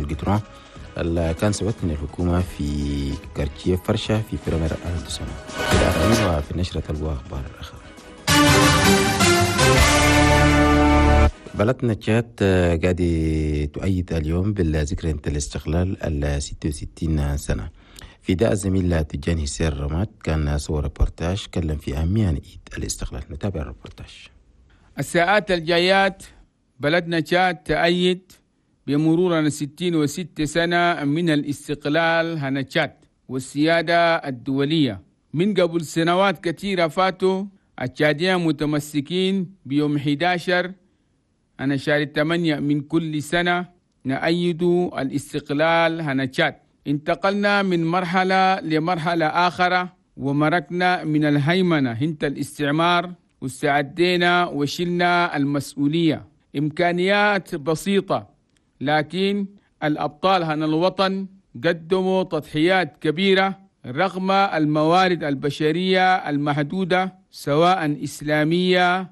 الجدران اللي كان سوت من الحكومة في quartier فرشة في premier arrondissement. في وفي النشرة تلقوا أخبار أخرى. بلدنا تشاد قاعد تؤيد اليوم بالذكرى الاستقلال ال 66 سنة. في داء الزميل تجاني سير رماد كان صور ريبورتاج كلم في أهمية عيد الاستقلال. نتابع الريبورتاج. الساعات الجايات بلدنا تشاد تأيد بمرور 66 سنة من الاستقلال هنا تشاد والسيادة الدولية. من قبل سنوات كثيرة فاتوا التشاديين متمسكين بيوم 11 أنا شهر 8 من كل سنة نأيد الاستقلال هنا تشاد. انتقلنا من مرحلة لمرحلة آخرى ومركنا من الهيمنة هنت الاستعمار واستعدينا وشلنا المسؤولية. إمكانيات بسيطة لكن الأبطال هنا الوطن قدموا تضحيات كبيرة رغم الموارد البشرية المحدودة سواء إسلامية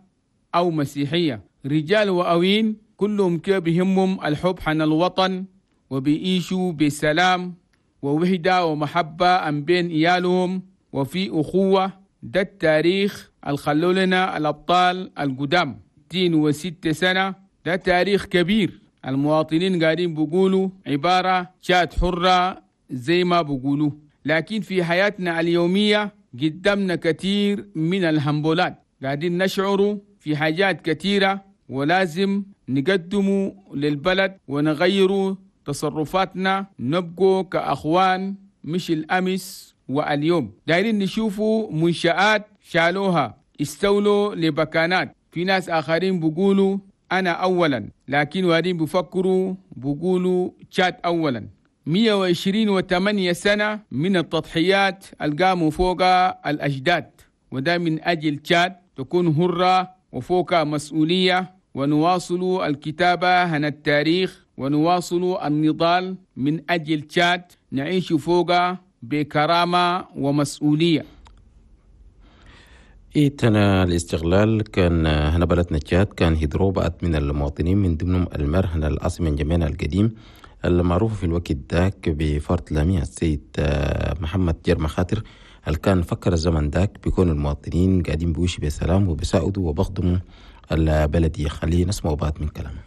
أو مسيحية. رجال وأوين كلهم كيف بهمهم الحب حن الوطن وبيعيشوا بسلام ووحدة ومحبة أم بين إيالهم وفي أخوة. ده التاريخ الخلوا لنا الأبطال القدام. 66 سنة ده تاريخ كبير. المواطنين قاعدين بيقولوا عبارة تشاد حرة زي ما بيقولوا، لكن في حياتنا اليومية قدامنا كثير من الهمبولات، قاعدين نشعر في حاجات كثيرة ولازم نقدمه للبلد ونغير تصرفاتنا، نبقوا كأخوان مش الأمس واليوم. دايرين نشوفوا منشآت شالوها استولوا لبكانات. في ناس آخرين بيقولوا أنا أولا، لكن وارين بفكروا بيقولوا تشاد أولا. 128 سنة من التضحيات القاموا فوق الأجداد، وده من أجل تشاد تكون هرة وفوق مسؤولية. ونواصل الكتابة هنا التاريخ ونواصل النضال من أجل تشاد نعيش فوق بكرامة ومسؤولية. إيتنا الاستغلال كان هنا بلدنا تشاد كان هدرو بقت من المواطنين من ضمنهم المر هنا العاصمة جميعنا القديم المعروف في الوقت ذاك بفرد لامية السيد محمد جرم خاطر اللي كان فكر الزمن ذاك بيكون المواطنين قاعدين بيوشي بسلام وبيساعدوا وبخدموا البلدية. خلينا نسمع بعض من كلامه.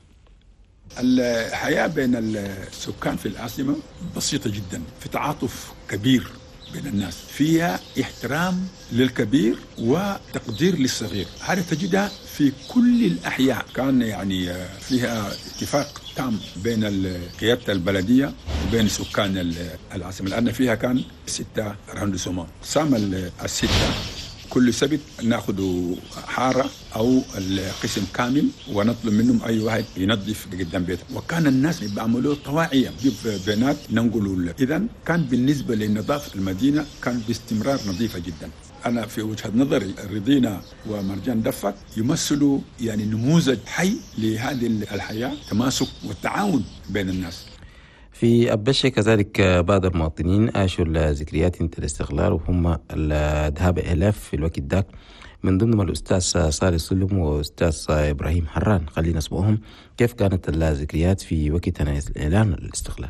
الحياة بين السكان في العاصمة بسيطة جدا، في تعاطف كبير بين الناس، فيها احترام للكبير وتقدير للصغير. هذا تجدها في كل الأحياء. كان يعني فيها اتفاق تام بين قيادة البلدية وبين سكان العاصمة، لأن فيها كان 6 arrondissements. قسام ال6 كل سبت ناخذ حارة أو القسم كامل ونطلب منهم أي واحد ينظف قدام بيته، وكان الناس بيعملوه طواعية، نجيب بنات ننقلوا. إذن كان بالنسبة لنظافة المدينة كان باستمرار نظيفة جدا. أنا في وجهة نظري رضينا ومرجان دفك يمثلوا يعني نموذج حي لهذه الحياة، تماسك والتعاون بين الناس. في أبشة كذلك بعض المواطنين عاشوا الذكريات الاستقلال وهم الذهاب آلاف في الوقت ذاك، من ضمنهم الأستاذ صالح سلم وأستاذ إبراهيم حران. خلينا نسمعهم كيف كانت الذكريات في وقت إعلان الاستقلال.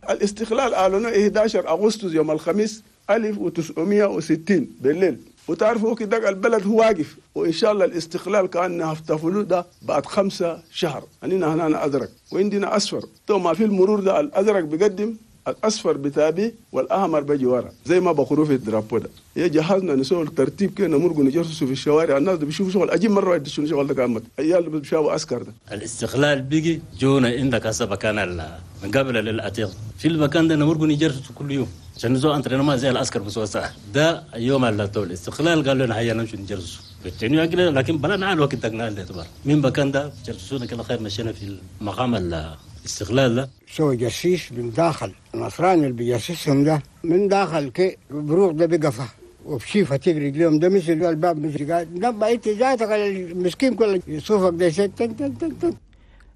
الاستقلال أعلنوا 11 أغسطس يوم الخميس 1960 بالليل، وتعرفوا كده البلد هو واقف، وإن شاء الله الاستقلال كان احتفلوا ده بعد 5 شهر. أننا هنا أزرق وعندنا أصفر، تو ما في المرور ده الأزرق بيقدم، الأصفر بتابي والأحمر بيجي ورا زي ما بخروا في ال drapeau ده. هي جهزنا نسوي الترتيب كده نمرق نجرسوا في الشوارع، الناس بيشوفوا شغل أجيب مرة واحدة شنو شغل ده كامل أيال اللي بيشافوا عسكر ده. الاستقلال بيجي جونا عندك هسه مكان من قبل للعتيق في المكان ده نمرق نجرسوا كل يوم عشان نزو انترينما زي العسكر بس ده يوم اللي طول الاستقلال قالوا لنا هيا نمشي نجرسوا بالتنيو أقل، لكن بلا نعال وقت دقنا الاعتبار من مكان ده جرسونا كلا خير. مشينا في المقام الاستقلال ده سوى جسيس من داخل النصراني اللي بيجسسهم ده من داخل كي بروح ده بقفه وبشيفه تجري اليوم ده مثل الباب مثل قاعد نبقى انت ذاتك المسكين كله يصوفك ده تن تن تن تن.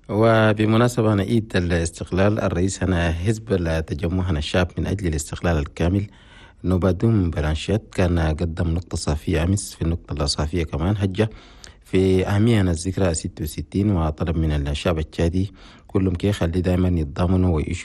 وبمناسبة عيد الاستقلال الرئيس هنا حزب التجمع هنا الشعب من أجل الاستقلال الكامل نوبادوم بلانشيت كان قدم نقطة صافية أمس. في النقطة الصافية كمان هجة في أهمية الذكرى 66 وطلب من الشعب التشادي كلهم كي خلي دائما يتضامنوا ويعيشوا